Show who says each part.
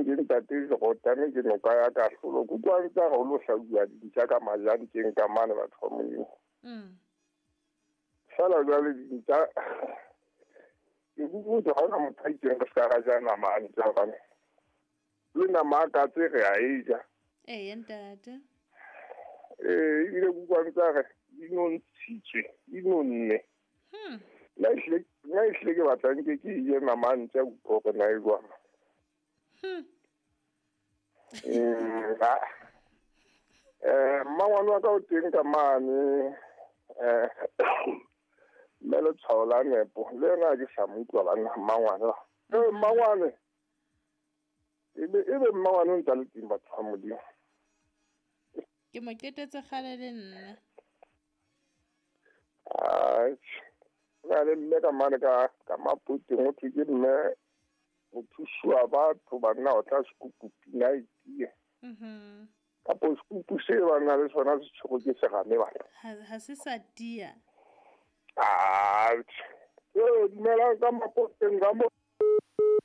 Speaker 1: Ke ntate Jorotane, ke noka ya kahlolo. Ke utlwa ntse a re ho lo hlabuwa dintja ka majanteng ka mane, batho ba Modimo. Fela jwale dintja ke kukuti ha hona motho a itseng re se ka ra ja nama a ntja, hobane le nama a katse re a e ja.
Speaker 2: Eya ntate.
Speaker 1: Ee, ebile ke utlwa ntse a re di nontshitswe, di nonne. Nna ehlile ke batla nke ke e je nama a ntja, utlwa hore na e jwang. Mmangwane wa ka o teng ka mane, mme letshwao la nepo le yena ha ke sa mo utlwa banna, mmangwane. Mmangwane ebe mmangwane o ntsa le teng, batho ba Modimo.
Speaker 2: Ke mo qetetse kgale le nna.
Speaker 1: Atjhe, ho na le mme ka mane ka Mapoteng, ho thwe ke mme mothusi wa batho banna, o tla sekupu pina e tie. Kapo sekupu se ba na le sona se tshwerwe ke serame bana.
Speaker 2: Ha se sa tia.
Speaker 1: Atjhe. Dumelang ka Mapoteng ka mo.